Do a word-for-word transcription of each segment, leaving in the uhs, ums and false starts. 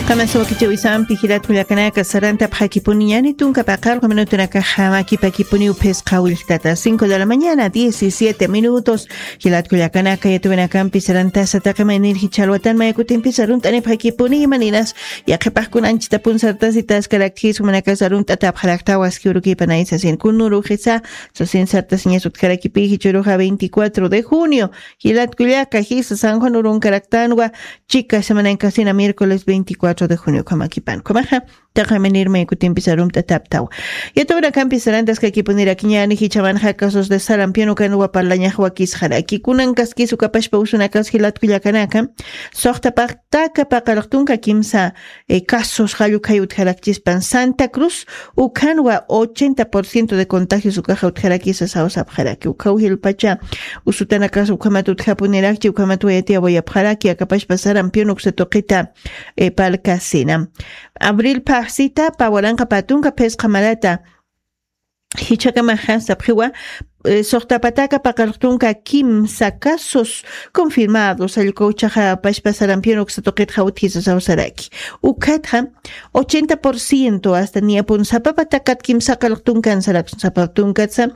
Qamasuwa kichawisampi jilat kullakanaka sarantapxakipuniñani tunka paqarqa minutunakaxa makipakipuniw phisqa willktata cinco de la mañana diecisiete minutos. Jilat kullakanaka yatuwinakampi sarantasa taqi maynir jichha alwatan mayakutimpi sarunt'anipxakipuni imaninas yaqhipaqkuna anchitapun sartasitas karaktis jumanakasa arunt'atapxaraktawa askiwirukipanayi sasin kunuruxisa sasin sartasiñas utjarakipi jichuruxa veinticuatro de junio. Jilat kullaka jisa san juan urunkaraktanwa chika semanankasina miércoles veinticuatro de junio ukhamakipan ukhamaxa taqaminirma ikutimpi sarumt'ataptawa. Yatawanakampi sarantaskakipunirakñani jichamanxa casos de sarampión ukanwa parlañaxwakisxaraki kunankaskis ukapashpa usunakas jilat kullakanaka soxtapaqtaka paqaraqtunka kimsa casos jallukhay utjarakchispan santa cruz ukhanwa ochenta por ciento de contagios ukaxa utjarakisa sawsapxaraki ukhaw jilpacha usutanakas ukhamat utjapunirakchi ukhamat wayatiyawayapxaraki akapashpa sarampión uksa tuqita palkasina. Abril phaxsita pawaranqa patunka phisqa marata jichhakamaxa sapxiwa soxtapataka paqaraqtunka kimsa casos confirmados allqu uchaxa pashpa sarampión uksa tuqitxa utjisa sawsaraki. Ukhatxa ochenta por ciento hasta niyapun sapapatakat kimsa qalqtunkan saraksun sapaptunkatsa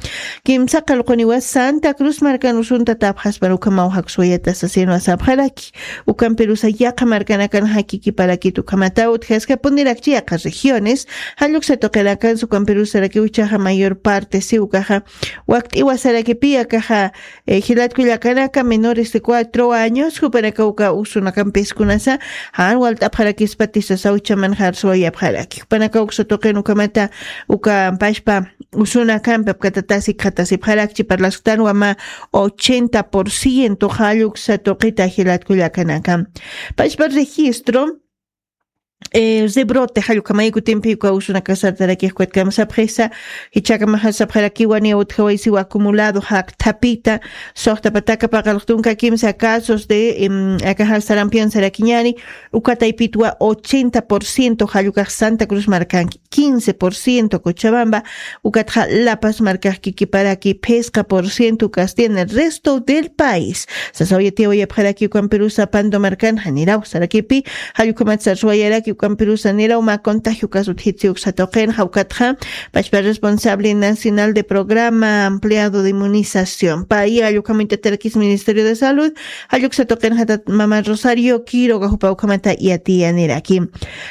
kimsa qalquniwa santa cruz markan usunta tapxaspan ukhamaw jakswayata sasinwa sapxaraki. Ukampirusa yaqha markanakan jakikiparakit ukhamata utjaskapunirakchi yaqha regiones jalluksa tuqinakansa ukampirusarakiw ichaxa mayor parte si ukaxa wakt'iwasarakipi akaxa jilat kullakanaka menores de cuatro años jupanaka uka usunakampiskunasa jan walt'apxarakispatisasa uchaman jarsuwayapxaraki jupanaka uksa tuqin ukamata uka pashpa usunakampi apkatatasi qhatasipxarakchi parlasktanwa mä ochenta por ciento jalluksa tuqita jilat kullakanaka pashpa registro rebrote jallukamayakutimpi uka usunakasartarakixkutkama sapxisa. Jichhakamaxa sapxarakiwa niya utjawaysiwa acumulado jakthapita soxtapataka paqalqtunka kimsa casos de akaxa sarampión sarakiñani. Uka taypitwa ochenta por ciento jallukax santa cruz markanki quince por ciento cochabamba ukatxa lapas markax kikiparaki phisqa por ciento ukas tiene resto del país. Sasawayatiyawayapxaraki ukampirusa pando markan janiraw sarakipi jallukhamat sarsuwayaraki ukampirusa niraw mä contagio caso utjitsi uksa tuqinxa ukatxa pashpa responsable nacional de programa ampliado de inmunización pay jallukhamitatarakis ministerio de salud jalluksa tuqinxatat mama rosario quiroga jupa ukhamata yatiyaniraki.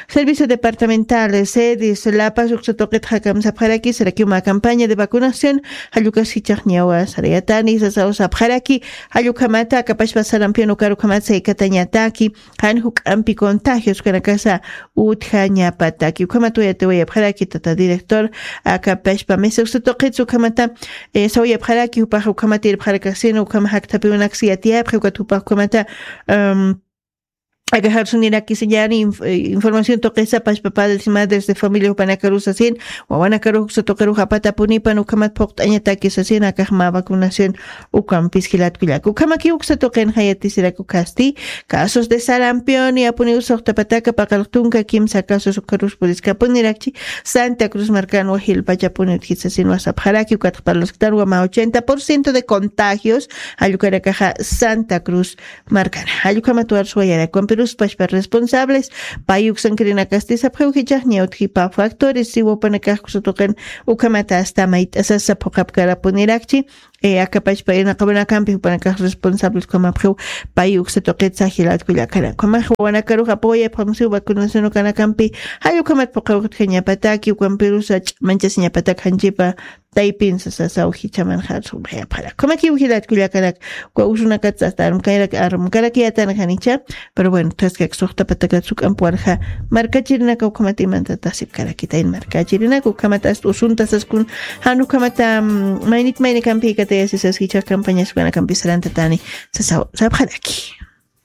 Servicio departamental sedis lapas uksa tuqitxa kamsapxaraki sarakiw mä campaña de vacunación jallukas jichhaxñawa sarayatani sasaw sapxaraki. Jallukhamata akapashpa sarampión ukar ukhamat saykatañataki jan juk'ampi contagios kanakasa utjañapataki ukhamat wayatiwayapxaraki tata director akapashpa mesa uksa tuqitsa ukhamata sawayapxaraki jupaxa ukhamat irpxarakasin ukhama jakthapiwanaksi yatiyapxi ukat jupax ukhamata aka jarsunirakisañani información tuqisa pashpa padres y madres de familia jupanakarus asin wawanakarux uksa tuqirux apatapunipan ukhamat phuqt'añatakis asin akax mä vacunación ukampis jilat kullaka ukhamakiw uksa tuqinxa yatisiraku kasti casos de sarampión niyapuniw soxtapataka paqalqtunka kimsa casos ukarus puriskapunirakchi santa cruz markanwa jilpachapuni utjisa asinwa sapxaraki ukatxa parlasktanwa mä ochenta por ciento de contagios jallukharakaxa santa cruz markana jallukhamat warsuwayarakuwan piruspashpa responsables pay uksankirinakasti sapxiw jichhaxña utjipa factores siwa upanakax kusa tuqin ukhamata asta mayt'asasa phuqhapkarapunirakchi akapachpa irnaqawanakampi jupanakax responsables ukhamapxiw pay uksa tuqitsa jilat kullakanaka ukhamax wawanakarux apawayapxamsiw vacunación ukanakampi jallukhamat phuqhawkutjañapataki ukampirusa ch'amanchasiñapatak janchipa taypinsa sasaw jichhaman jarsuxayapxarak ukhamakiw jilat kullakanak uka usunakatsa asta armkarak armkarak yatan janicha. Pero bueno taskak suxtapatakat suk'ampuwarxa markachirinaka ukhamat imantatasipkarakitayn markachirinaka ukhamat asta usuntasaskun jan ukhamata maynit maynikampi katayasisas jichhax campañas ukanakampi sarantatani sasaw sapxaraki.